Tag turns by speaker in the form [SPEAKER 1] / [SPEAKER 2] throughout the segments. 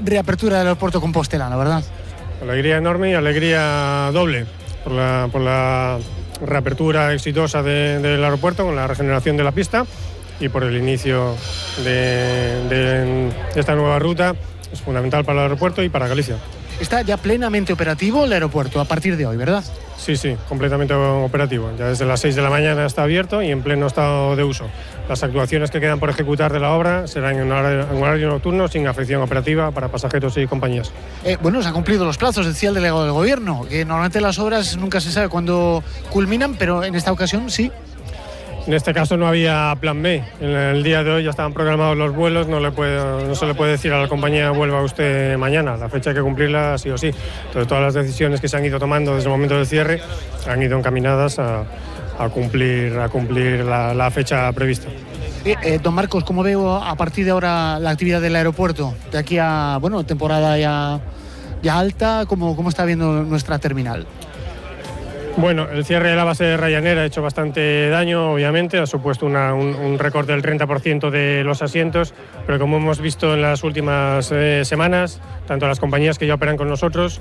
[SPEAKER 1] Reapertura del aeropuerto compostelano, ¿verdad?
[SPEAKER 2] Alegría enorme y alegría doble por la reapertura exitosa del aeropuerto con la regeneración de la pista y por el inicio de esta nueva ruta. Es fundamental para el aeropuerto y para Galicia.
[SPEAKER 1] Está ya plenamente operativo el aeropuerto a partir de hoy, ¿verdad?
[SPEAKER 2] Sí, completamente operativo. Ya desde las 6 de la mañana está abierto y en pleno estado de uso. Las actuaciones que quedan por ejecutar de la obra serán en horario nocturno sin afección operativa para pasajeros y compañías.
[SPEAKER 1] Bueno, se han cumplido los plazos, decía el delegado del Gobierno, que normalmente las obras nunca se sabe cuándo culminan, pero en esta ocasión sí.
[SPEAKER 2] En este caso no había plan B. En el día de hoy ya estaban programados los vuelos, no se le puede decir a la compañía vuelva usted mañana, la fecha hay que cumplirla sí o sí. Entonces todas las decisiones que se han ido tomando desde el momento del cierre han ido encaminadas a cumplir la fecha prevista.
[SPEAKER 1] Don Marcos, ¿cómo veo a partir de ahora la actividad del aeropuerto? De aquí a temporada ya alta, ¿cómo está viendo nuestra terminal?
[SPEAKER 2] Bueno, el cierre de la base de Ryanair ha hecho bastante daño, obviamente, ha supuesto un recorte del 30% de los asientos, pero como hemos visto en las últimas semanas, tanto las compañías que ya operan con nosotros,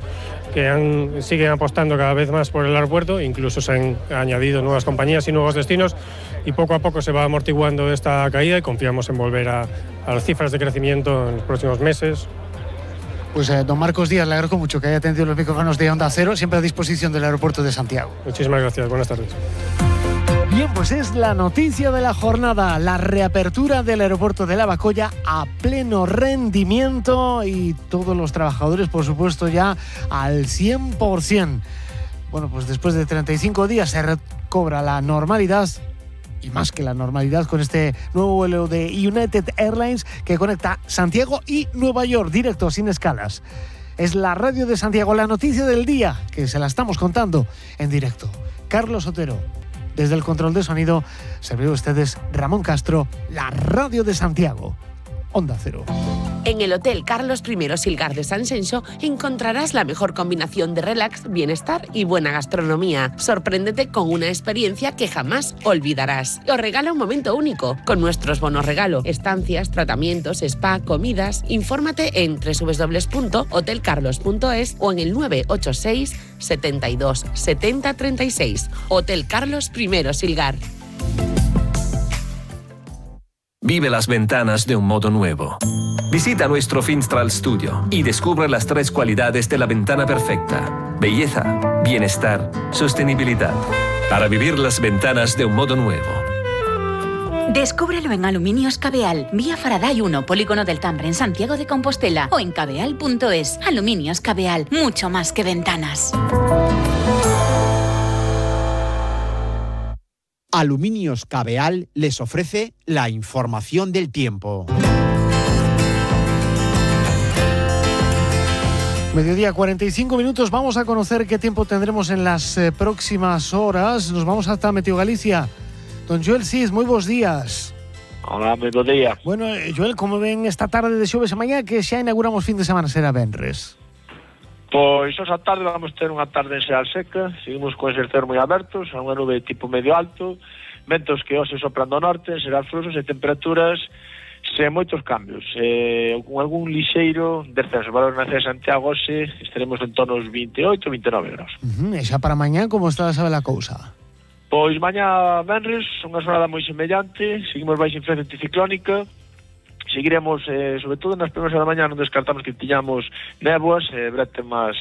[SPEAKER 2] que siguen apostando cada vez más por el aeropuerto, incluso se han añadido nuevas compañías y nuevos destinos, y poco a poco se va amortiguando esta caída y confiamos en volver a las cifras de crecimiento en los próximos meses.
[SPEAKER 1] Pues don Marcos Díaz, le agradezco mucho que haya atendido los micrófonos de Onda Cero, siempre a disposición del aeropuerto de Santiago.
[SPEAKER 2] Muchísimas gracias, buenas tardes.
[SPEAKER 1] Bien, pues es la noticia de la jornada, la reapertura del aeropuerto de Lavacolla a pleno rendimiento y todos los trabajadores, por supuesto, ya al 100%. Bueno, pues después de 35 días se recobra la normalidad. Y más que la normalidad con este nuevo vuelo de United Airlines que conecta Santiago y Nueva York, directo, sin escalas. Es la radio de Santiago, la noticia del día, que se la estamos contando en directo. Carlos Otero, desde el control de sonido, servidor de ustedes Ramón Castro, la radio de Santiago, Onda Cero.
[SPEAKER 3] En el Hotel Carlos I Silgar de San Xenxo encontrarás la mejor combinación de relax, bienestar y buena gastronomía. Sorpréndete con una experiencia que jamás olvidarás. Os regala un momento único con nuestros bonos regalo, estancias, tratamientos, spa, comidas. Infórmate en www.hotelcarlos.es o en el 986 72 70 36. Hotel Carlos I Silgar.
[SPEAKER 4] Vive las ventanas de un modo nuevo. Visita nuestro Finstral Studio y descubre las 3 cualidades de la ventana perfecta: belleza, bienestar, sostenibilidad. Para vivir las ventanas de un modo nuevo.
[SPEAKER 5] Descúbrelo en Aluminios Cabeal, vía Faraday 1, Polígono del Tambre, en Santiago de Compostela, o en cabeal.es. Aluminios Cabeal, mucho más que ventanas.
[SPEAKER 6] Aluminios Cabeal les ofrece la información del tiempo.
[SPEAKER 1] Mediodía, 45 minutos. Vamos a conocer qué tiempo tendremos en las próximas horas. Nos vamos hasta Meteo Galicia. Don Joel Cis, moi bons días.
[SPEAKER 7] Hola, moi bons días.
[SPEAKER 1] Bueno, Joel, como ven esta tarde de xoves a mañá que xa inauguramos fin de semana, será venres?
[SPEAKER 7] Pois esa tarde vamos ter unha tarde en Seal seca, seguimos con ese cero moi abertos, a unha nube tipo medio alto, ventos que hoxe sopran do norte, serán fluxos e temperaturas sen moitos cambios, con algún lixeiro descenso. Valor na cidade de Santiago hoxe estaremos en torno aos 28, 29 graus.
[SPEAKER 1] E xa para mañá, como está a saber a cousa?
[SPEAKER 7] Pois mañá venres, unha xornada moi semellante, seguimos baixo influencia anticiclónica, seguiremos, sobre todo nas primeiras da mañá non descartamos que tiñamos néboas, brete máis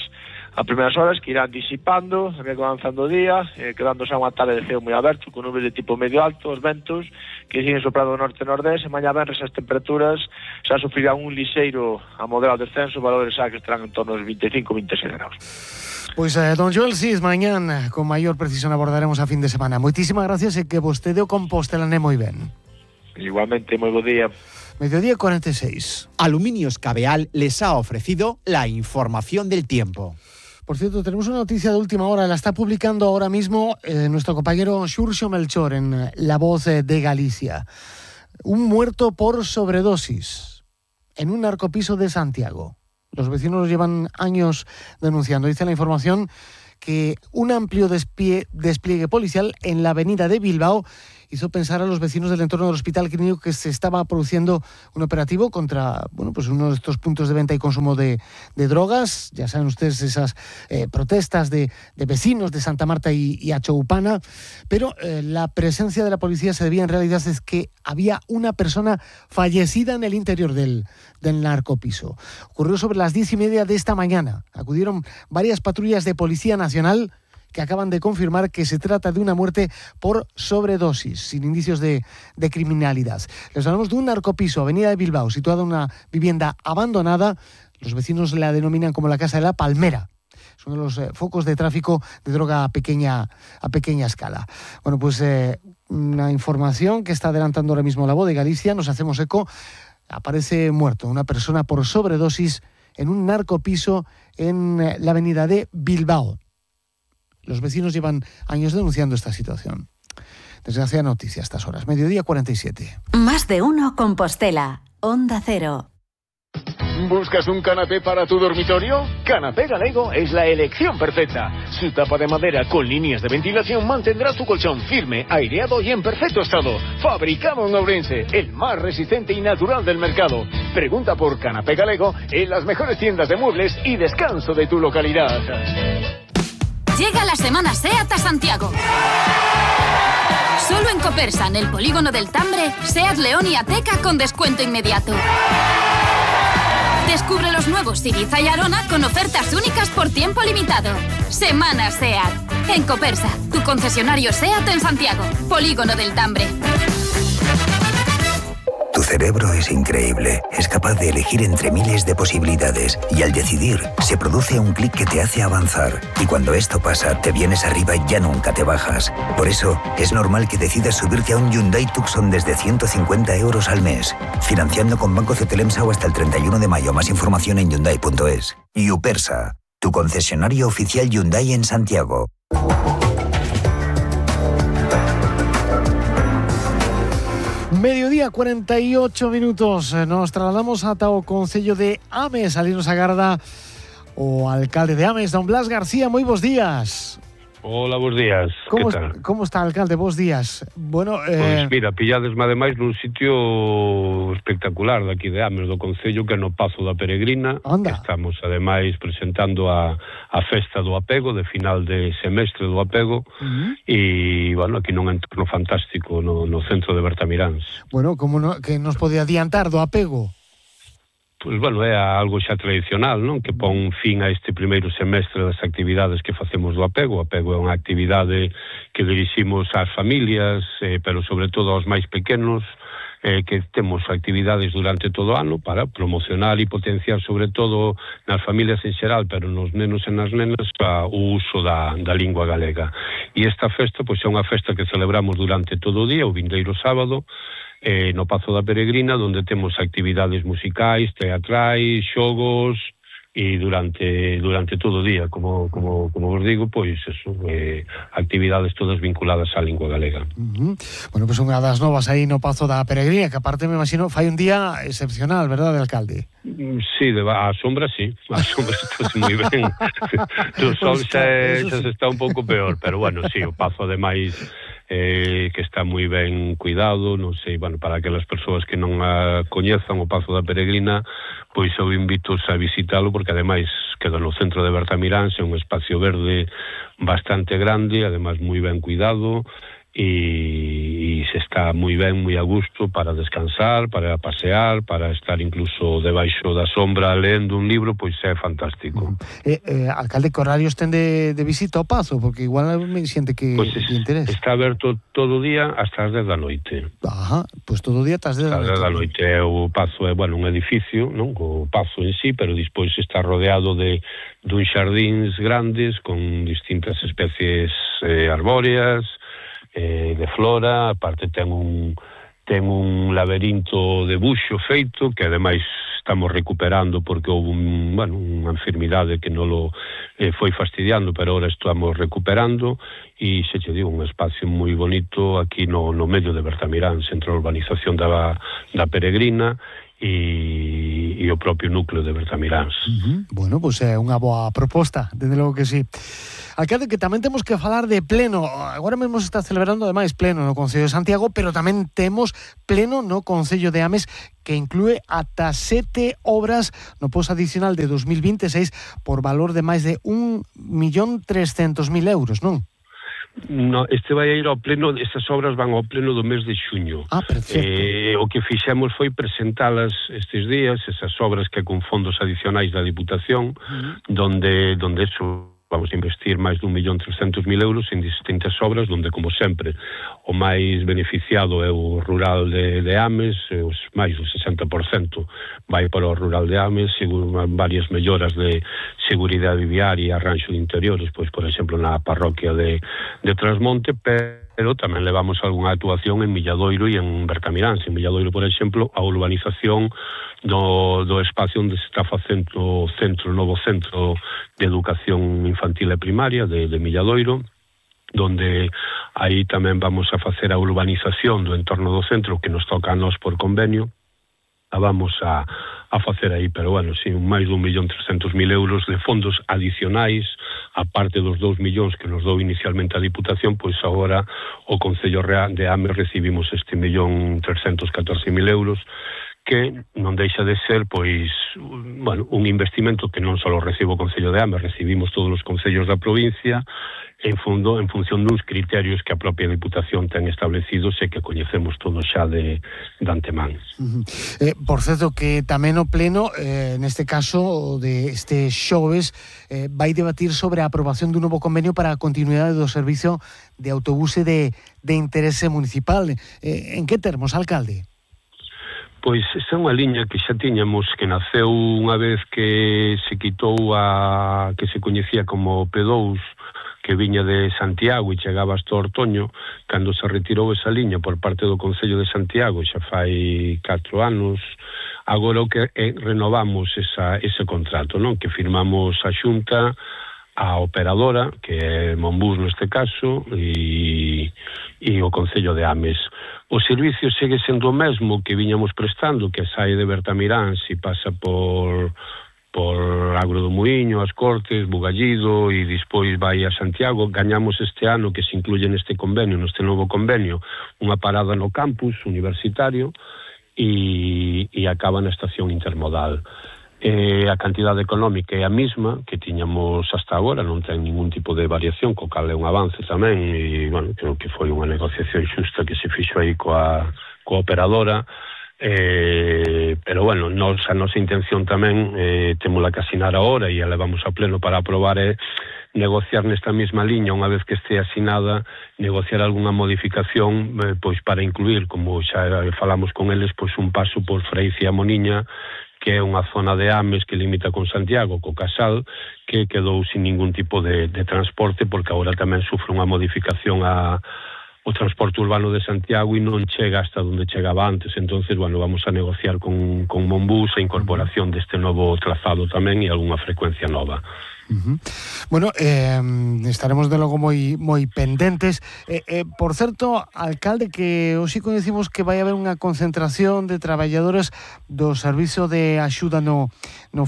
[SPEAKER 7] a primeiras horas que irán disipando, a medida que avanzando o día, quedando xa unha tarde de ceo moi aberto, con nubes de tipo medio alto, os ventos que siguen soprando do norte e nordeste, e mañá venres as temperaturas xa sufrirán un lixeiro a moderado descenso, valores xa que estarán en torno aos 25-26 graus.
[SPEAKER 1] Pois, don Joel Cis, mañán con maior precisión abordaremos a fin de semana. Moitísimas gracias e que vostede o Compostela moi ben.
[SPEAKER 7] Igualmente, moi bo día.
[SPEAKER 1] Mediodía 46.
[SPEAKER 6] Aluminios Cabeal les ha ofrecido la información del tiempo.
[SPEAKER 1] Por cierto, tenemos una noticia de última hora, la está publicando ahora mismo nuestro compañero Xurxo Melchor en La Voz de Galicia. Un muerto por sobredosis en un narcopiso de Santiago. Los vecinos llevan años denunciando. Dice la información que un amplio despliegue policial en la avenida de Bilbao hizo pensar a los vecinos del entorno del Hospital Clínico que se estaba produciendo un operativo contra, pues uno de estos puntos de venta y consumo de drogas. Ya saben ustedes esas protestas de vecinos de Santa Marta y Achoupana, pero la presencia de la policía se debía en realidad es que había una persona fallecida en el interior del narcopiso. Ocurrió sobre las 10:30 de esta mañana. Acudieron varias patrullas de Policía Nacional que acaban de confirmar que se trata de una muerte por sobredosis, sin indicios de criminalidad. Les hablamos de un narcopiso, Avenida de Bilbao, situada en una vivienda abandonada. Los vecinos la denominan como la Casa de la Palmera. Es uno de los focos de tráfico de droga a pequeña escala. Bueno, pues una información que está adelantando ahora mismo La Voz de Galicia, nos hacemos eco. Aparece muerto una persona por sobredosis en un narcopiso en la Avenida de Bilbao. Los vecinos llevan años denunciando esta situación. Desgraciada noticia a estas horas. 12:47.
[SPEAKER 8] Más de uno Compostela. Onda Cero.
[SPEAKER 9] ¿Buscas un canapé para tu dormitorio? Canapé Galego es la elección perfecta. Su tapa de madera con líneas de ventilación mantendrá tu colchón firme, aireado y en perfecto estado. Fabricado en Ourense, el más resistente y natural del mercado. Pregunta por Canapé Galego en las mejores tiendas de muebles y descanso de tu localidad.
[SPEAKER 5] Llega la Semana SEAT a Santiago. Solo en Copersa, en el polígono del Tambre, SEAT León y Ateca con descuento inmediato. Descubre los nuevos Ibiza y Arona con ofertas únicas por tiempo limitado. Semana SEAT. En Copersa, tu concesionario SEAT en Santiago. Polígono del Tambre.
[SPEAKER 10] Tu cerebro es increíble. Es capaz de elegir entre miles de posibilidades. Y al decidir, se produce un clic que te hace avanzar. Y cuando esto pasa, te vienes arriba y ya nunca te bajas. Por eso, es normal que decidas subirte a un Hyundai Tucson desde 150 euros al mes. Financiando con Banco Cetelemsa o hasta el 31 de mayo. Más información en Hyundai.es. Upersa, tu concesionario oficial Hyundai en Santiago.
[SPEAKER 1] Mediodía, 48 minutos. Nos trasladamos ata o Concello de Ames, Alinos Agarda, o alcalde de Ames, don Blas García. Moi bons días.
[SPEAKER 11] Hola, bons días. Que tal?
[SPEAKER 1] Como está, alcalde? Bons días. Bueno,
[SPEAKER 11] Pois mira, pilladesme ademais nun sitio espectacular daqui de Ames, do Concello, que é no Pazo da Peregrina.
[SPEAKER 1] Anda.
[SPEAKER 11] Estamos ademais presentando a festa do apego, de final de semestre do apego, e, bueno, aquí nun entorno fantástico no centro de Bertamiráns.
[SPEAKER 1] Bueno, como no, que nos pode adiantar do apego?
[SPEAKER 11] Pois, bueno, é algo xa tradicional, non? Que pon fin a este primeiro semestre das actividades que facemos do apego. O apego é unha actividade que diriximos ás familias, pero sobre todo aos máis pequenos, que temos actividades durante todo o ano para promocionar e potenciar sobre todo nas familias en xeral, pero nos nenos e nas nenas, o uso da lingua galega. E esta festa, pois, é unha festa que celebramos durante todo o día, o vindeiro sábado, no Pazo da Peregrina, onde temos actividades musicais, teatrais, xogos, e durante todo o día, como vos digo, pois eso, actividades todas vinculadas á lingua galega.
[SPEAKER 1] Bueno, pois unha das novas aí no Pazo da Peregrina, que aparte me imagino fai un día excepcional, verdade, alcalde?
[SPEAKER 11] Sí, a sombra sí, a sombra está moi ben. O sol xa se está un pouco peor, pero bueno, sí, o Pazo ademais que está moi ben cuidado, non sei, bueno, para aquelas persoas que non a coñezan o Pazo da Peregrina, pois eu invito a visitalo, porque ademais queda no centro de Bertamiráns, é un espacio verde bastante grande, ademais moi ben cuidado, e se está moi ben, moi a gusto para descansar, para pasear, para estar incluso debaixo da sombra lendo un libro, pois é fantástico.
[SPEAKER 1] Alcalde, que horarios ten de visita ao Pazo? Porque igual me xente que interesa.
[SPEAKER 11] Está aberto todo o día hasta as 10 da noite.
[SPEAKER 1] Ajá, pois todo o día hasta as 10 da noite.
[SPEAKER 11] Hasta as 10 da noite. O Pazo é, bueno, un edificio, non? O Pazo en sí, pero despois está rodeado de dun xardíns grandes con distintas especies arbóreas, de flora, aparte ten un laberinto de buxo feito, que ademais estamos recuperando porque houve unha enfermidade que non lo foi fastidiando, pero ahora estamos recuperando, e se che digo, un espacio moi bonito aquí no medio de Bertamiráns, entre a urbanización da Peregrina e o propio núcleo de Bertamiráns.
[SPEAKER 1] Bueno, pois é unha boa proposta, desde logo que sí. Alcalde, que tamén temos que falar de pleno. Agora mesmo se está celebrando ademais pleno no Concello de Santiago, pero tamén temos pleno no Concello de Ames, que inclúe ata 7 obras no post adicional de 2026 por valor de máis de 1.300.000 euros, non?
[SPEAKER 11] No, este vai a ir ao pleno, estas obras van ao pleno do mes de xuño.
[SPEAKER 1] Perfecto.
[SPEAKER 11] O que fixemos foi presentalas estes días, esas obras que con fondos adicionais da Diputación, donde eso vamos a investir máis de 1.300.000 euros en distintas obras, donde, como sempre, o máis beneficiado é o rural de Ames, os máis do 60% vai para o rural de Ames, varias melloras de seguridade viaria e arranxo de interiores, pois, por exemplo, na parroquia de Trasmonte, pero tamén levamos algunha actuación en Milladoiro e en Bertamiráns. En Milladoiro, por exemplo, a urbanización do espacio onde se está facendo o novo centro de educación infantil e primaria de Milladoiro, donde aí tamén vamos a facer a urbanización do entorno do centro que nos toca a nós por convenio, a vamos a facer aí, pero bueno, sí, máis de 1.300.000 euros de fondos adicionais, a parte dos 2 millóns que nos dou inicialmente a Diputación, pois agora o Concello de Ames recibimos este 1.314.000 euros, que non deixa de ser, pois, bueno, un investimento que non só recibo o Concello de Ames, recibimos todos os concellos da provincia, en función duns criterios que a propia Diputación ten establecidos e que coñecemos todos xa de antemán.
[SPEAKER 1] Por certo, que tamén o pleno, neste caso de este xoves, vai debatir sobre a aprobación dun novo convenio para a continuidade do servizo de autobuse de interese municipal. En que termos, alcalde?
[SPEAKER 11] Pois esa é unha liña que xa tiñamos, que naceu unha vez que se quitou que se coñecía como P2, que viña de Santiago e chegaba hasta Ortoño, cando se retirou esa liña por parte do Concello de Santiago, xa fai 4 anos, agora o que renovamos ese contrato, non? Que firmamos a Xunta, a operadora, que é Monbus neste caso, e o Concello de Ames. O servicio segue sendo o mesmo que viñamos prestando, que sae de Bertamiráns e pasa por Agro do Muiño, As Cortes, Bugallido e despois vai a Santiago. Gañamos este ano, que se incluye neste convenio, neste novo convenio, unha parada no campus universitario e acaba na estación intermodal. A cantidade económica é a mesma que tiñamos hasta agora, non ten ningún tipo de variación, co cal é un avance tamén, e, bueno, creo que foi unha negociación xusta que se fixo aí coa operadora, pero, bueno, a nosa intención tamén, témola que asinar agora e a levamos a pleno para aprobar, é negociar nesta mesma liña, unha vez que este asinada, negociar algunha modificación, pois para incluir, como xa falamos con eles, pois un paso por Freicia e Moniña, que é unha zona de Ames que limita con Santiago, co Casal, que quedou sin ningún tipo de transporte, porque agora tamén sufre unha modificación o transporte urbano de Santiago e non chega hasta onde chegaba antes. Entonces, bueno, vamos a negociar con Monbus a incorporación deste novo trazado tamén e algunha frecuencia nova.
[SPEAKER 1] Bueno, estaremos de logo moi pendentes. Por certo, alcalde, que hoxe coñecimos que vai haber unha concentración de traballadores do Servizo de Axuda no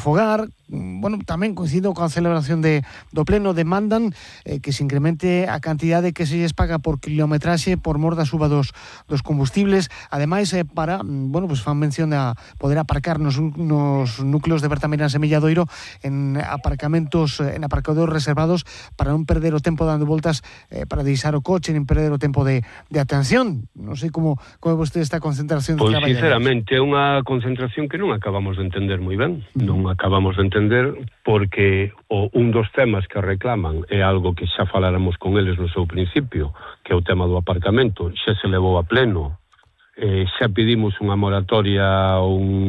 [SPEAKER 1] Fogar. Bueno, tamén coincido coa celebración do pleno, demandan que se incremente a cantidade que se lles paga por kilometraxe por mor da suba dos combustibles. Ademais, para, bueno, pues fan mención a poder aparcar nos núcleos de Bertamiráns e Milladoiro en aparcamentos, en aparcadores reservados, para non perder o tempo dando voltas para deixar o coche, nin perder o tempo de atención. Non sei como é vostede esta concentración de traballadores.
[SPEAKER 11] Pois, sinceramente, é unha concentración que non acabamos de entender moi ben. Non acabamos de entender, porque un dos temas que reclaman é algo que xa faláramos con eles no seu principio, que é o tema do aparcamento. Xa se levou a pleno, xa pedimos unha moratoria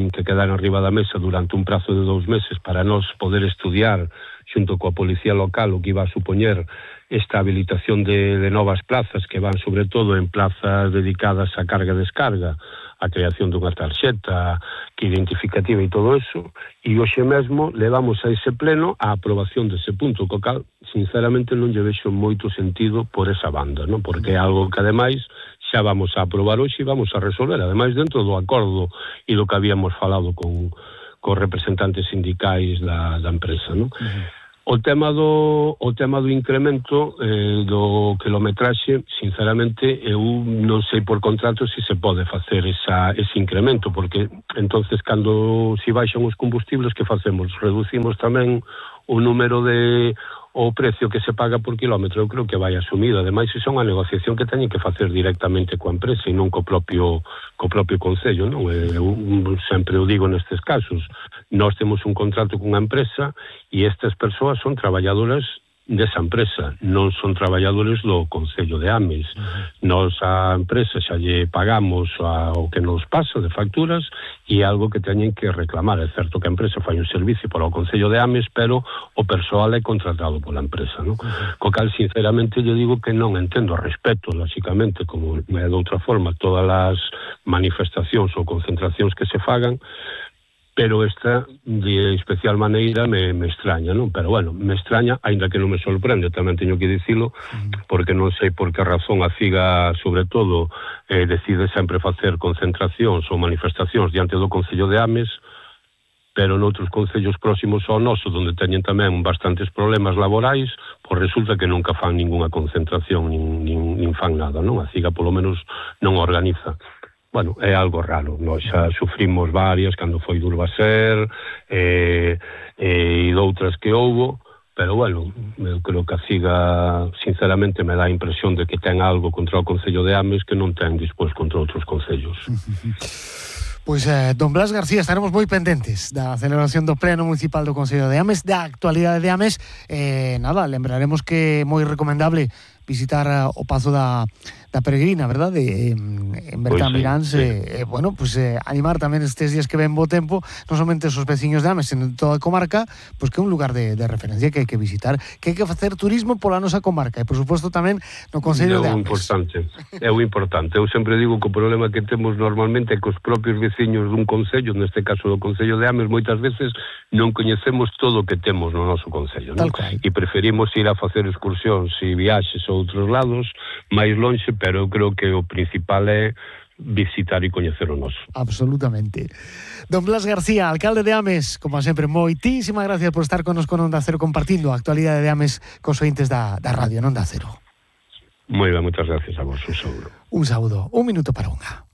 [SPEAKER 11] que quedara arriba da mesa durante un prazo de 2 meses para nós poder estudiar xunto coa policía local o que iba a supoñer esta habilitación de novas plazas, que van sobre todo en plazas dedicadas a carga e descarga, a creación dunha tarxeta que identificativa e todo eso, e hoxe mesmo levamos a ese pleno a aprobación dese punto, co cal, sinceramente, non lle vexo moito sentido por esa banda, non? Porque é algo que, ademais, xa vamos a aprobar hoxe e vamos a resolver, ademais dentro do acordo e do que habíamos falado con representantes sindicais da empresa, non? O tema do incremento do quilometraxe, sinceramente, eu non sei por contrato se pode facer ese incremento, porque entonces cando se baixan os combustibles, que facemos? Reducimos tamén o número o precio que se paga por kilómetro. Eu creo que vai asumido. Ademais, iso é unha negociación que teñen que facer directamente coa empresa e non co propio concello, non? Eu sempre o digo nestes casos. Nós temos un contrato cunha empresa e estas persoas son traballadoras desa empresa, non son traballadores do Concello de Ames. Nós a empresa xa lle pagamos o que nos pasa de facturas e algo que teñen que reclamar. É certo que a empresa fai un servicio para o Concello de Ames, pero o persoal é contratado pola empresa, non? Co cal, sinceramente, lle digo que non entendo, respeto, lóxicamente, como é de outra forma, todas as manifestacións ou concentracións que se fagan, pero esta de especial maneira me extraña, non? Pero bueno, me extraña, aínda que non me sorprende, tamén teño que dicilo, porque non sei por que razón a CIGA, sobre todo, decide sempre facer concentracións ou manifestacións diante do Concello de Ames, pero noutros concellos próximos ao noso, onde teñen tamén bastantes problemas laborais, pois resulta que nunca fan ningunha concentración, nin fan nada, non? A CIGA, polo menos, non organiza. Bueno, é algo raro. Nós xa sufrimos varias cando foi do Urbaser e doutras que houbo, pero bueno, eu creo que a CIGA sinceramente me dá a impresión de que ten algo contra o Concello de Ames que non ten despois contra outros concellos.
[SPEAKER 1] Pois, don Blas García, estaremos moi pendentes da celebración do Pleno Municipal do Concello de Ames, da actualidade de Ames. Nada, lembraremos que é moi recomendable visitar o Pazo da Peregrina, verdad? En Bertamiráns, bueno, pues animar tamén estes días que ven bo tempo, non somente os veciños de Ames, en toda a comarca, pues que é un lugar de referencia que hai que visitar, que hai que facer turismo pola nosa comarca e, por suposto, tamén no Concello de Ames.
[SPEAKER 11] É o importante. Eu sempre digo que o problema que temos normalmente é que os propios veciños dun concello, neste caso do Concello de Ames, moitas veces non coñecemos todo o que temos no noso concello, non? E preferimos ir a facer excursións e viaxes a outros lados, máis lonxe, pero eu creo que o principal é visitar e coñecer o noso.
[SPEAKER 1] Absolutamente. Don Blas García, alcalde de Ames, como sempre, moitísimas gracias por estar connosco en Onda Cero compartindo a actualidade de Ames cos ointes da radio en Onda Cero.
[SPEAKER 11] Moi ben, moitas gracias a vos, un saúdo.
[SPEAKER 1] Un saúdo, un minuto para unha.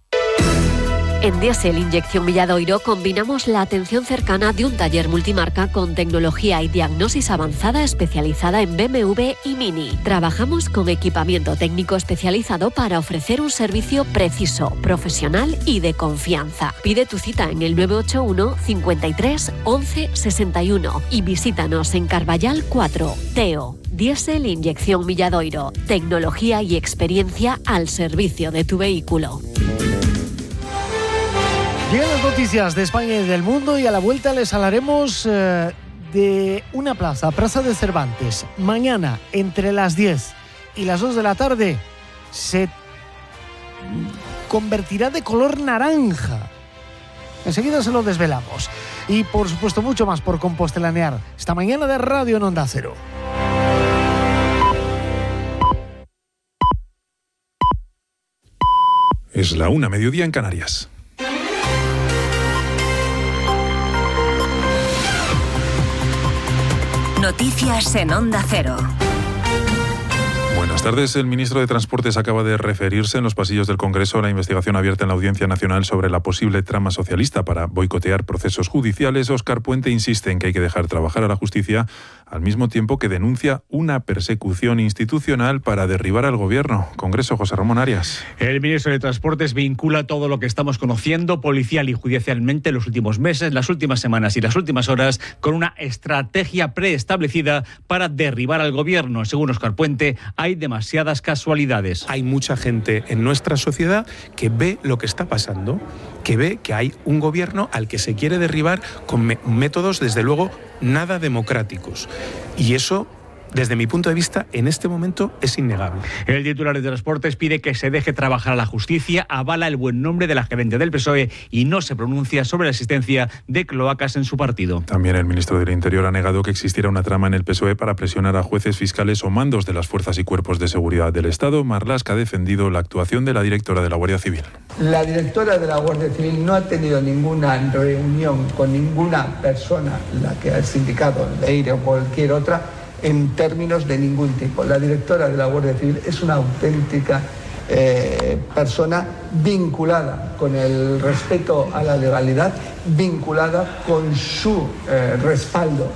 [SPEAKER 12] En Diesel Inyección Milladoiro combinamos la atención cercana de un taller multimarca con tecnología y diagnosis avanzada especializada en BMW y Mini. Trabajamos con equipamiento técnico especializado para ofrecer un servicio preciso, profesional y de confianza. Pide tu cita en el 981 53 11 61 y visítanos en Carballal 4, Teo. Diesel Inyección Milladoiro. Tecnología y experiencia al servicio de tu vehículo.
[SPEAKER 1] Llegan las noticias de España y del mundo y a la vuelta les hablaremos de una plaza de Cervantes. Mañana, entre las 10 y las 2 de la tarde, se convertirá de color naranja. Enseguida se lo desvelamos. Y, por supuesto, mucho más por compostelanear esta mañana de radio en Onda Cero.
[SPEAKER 13] Es la 1:00 mediodía en Canarias.
[SPEAKER 8] Noticias en Onda Cero.
[SPEAKER 13] Buenas tardes. El ministro de Transportes acaba de referirse en los pasillos del Congreso a la investigación abierta en la Audiencia Nacional sobre la posible trama socialista para boicotear procesos judiciales. Óscar Puente insiste en que hay que dejar trabajar a la justicia, al mismo tiempo que denuncia una persecución institucional para derribar al Gobierno. Congreso, José Ramón Arias.
[SPEAKER 14] El ministro de Transportes vincula todo lo que estamos conociendo policial y judicialmente en los últimos meses, las últimas semanas y las últimas horas con una estrategia preestablecida para derribar al Gobierno. Según Óscar Puente, hay demasiadas casualidades.
[SPEAKER 15] Hay mucha gente en nuestra sociedad que ve lo que está pasando, que ve que hay un gobierno al que se quiere derribar con métodos, desde luego, nada democráticos. Y eso desde mi punto de vista, en este momento es innegable.
[SPEAKER 14] El titular de Transportes pide que se deje trabajar a la justicia, avala el buen nombre de la gerente del PSOE y no se pronuncia sobre la existencia de cloacas en su partido.
[SPEAKER 13] También el ministro del Interior ha negado que existiera una trama en el PSOE para presionar a jueces, fiscales o mandos de las fuerzas y cuerpos de seguridad del Estado. Marlaska ha defendido la actuación de la directora de la Guardia Civil.
[SPEAKER 16] La directora de la Guardia Civil no ha tenido ninguna reunión con ninguna persona, la que ha indicado, Leire o cualquier otra, en términos de ningún tipo. La directora de la Guardia Civil es una auténtica persona vinculada con el respeto a la legalidad, vinculada con su respaldo